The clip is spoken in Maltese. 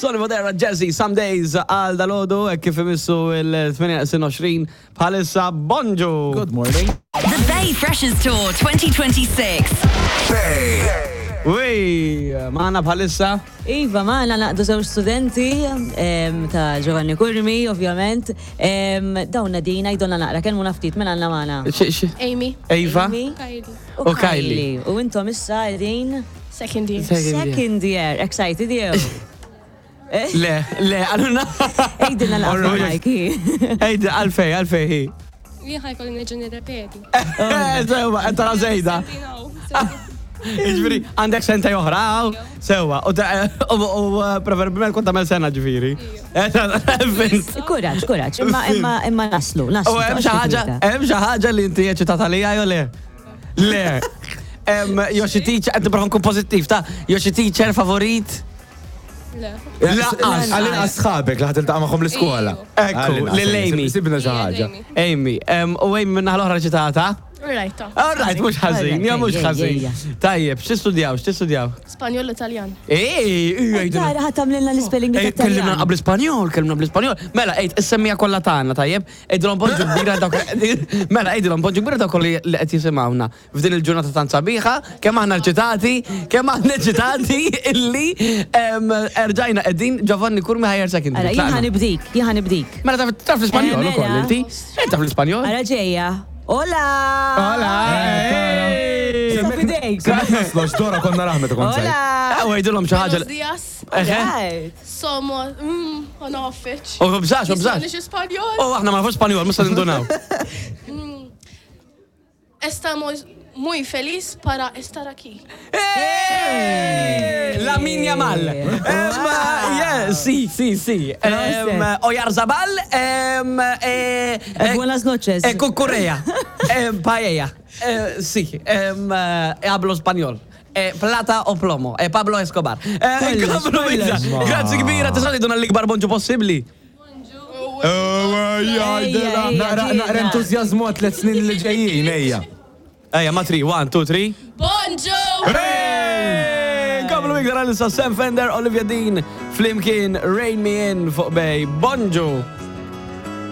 Sonny Fodera, Jazzy, Some Days, għal dalodu, kif imissu il-28 bħalissa, bonġu! Good morning. The Bay Freshers Tour 2026. Bay. Ui, maħna bħalissa. Iva, maħna naqdu żewġ studenti em, ta' Giovanni Curmi, ovvjament. Em, Dawn Nadina, jdonna naqra, kelmu naftit minn għanna maħna. Amy. Eva. Amy Kylie. U U Kylie. Kylie. U intom issa qegħdin Second year. second year, excited jew? Le, le, għaluna. Ejdilna l-għafra, Mikey. Ejdi, għalfej, għalfej hi. Jien ħajkolli nerġa' nirrepeti. Sewa, tara zejda. Ġifieri, għandek senta oħra, għaw? Sewa, u ta- u u, preferibilment kont tagħmel sena ġifieri. Fint. Kuraġġ, kuraġġ, imma imma imma naslu, naslu. U hemm xi ħaġa, hemm xi ħaġa li inti eċitata lija jew le? Le. Em, Jew xi teacher, qed nipprova nkun pożittiv ta' jew xi teacher favorit? Le. Laqqas. Għallin sħabek li ħatiltaqa' magħhom l-iskola. Ekku, Għall-inqas, lil Amy. Sibna xi ħaġa. Amy. Amy, em, u Amy minna l-oħra eċitata? Right, ta. All right, mhux ħażin, ja mhux Ejja, ejja, ħażin. ejja. Tajjeb, x'tistudjaw, x'tistudjaw? Spanjol Italjan. Ej, ej, Tara ħat tagħmlilna l-spelling Ej, Kellimna tat-Taljan. qabel Ispanjol, kellimna bl-Ispanjol. Mela, ejt, is-semmija kollha tagħna, tajjeb? Ejdilhom bonġu kbira dawk. Mela, ejdilhom bonġu kbira dawk li li qed jisimgħuna f'din il-ġurnata tant sabiħa, kemm aħna eċitati, kemm aħna eċitati illi em, erġajna qegħdin Giovanni Curmi Higher Secondary. Ara, jien Tlaqna. ħanibdik, jien ħanibdik. Mela taf taf l-Ispanjol Eh, ukoll mela. inti? Eh, Taf l-Ispanjol? Ara ġejja. Hola! Hola! Ej! Issa fidejk. Kemm naslox Dora konna raħmet kont Hola! Ah, u għidilhom xi ħaġa. Buenos dias. Eħe. Right. Somos. Mm, ma nafx. U bżax, u bżax. Spanish Spanjol. U aħna ma nafux Spanjol, mhux se nindunaw. Estamos muy feliz para estar aquí. Hey! Lamin Yamal. Em, yeah, si, si, si. Em, Oyarzabal. em, eh, eh, Buenas noches. Eh, Cucurella. Eh, paella. Eh, sí. Em, eh, hablo español. Eh, plata o plomo. Eh, Pablo Escobar. Eh, Kollox, komplu kollox. biza. Grazzi kbira, tista' tgħidulna l-ikbar bonġu possibbli. Ejja, ejja, Naqra ġejna. entużjażmu għat tliet snin li ġejjin, ejja. Ejja, ma 3, 1, 2, 3. Bonjour! Hey! Komplu iktar għalissa Sam Fender, Olivia Dean, Flimkien, Rain Me In fuq Bay. Bonġu!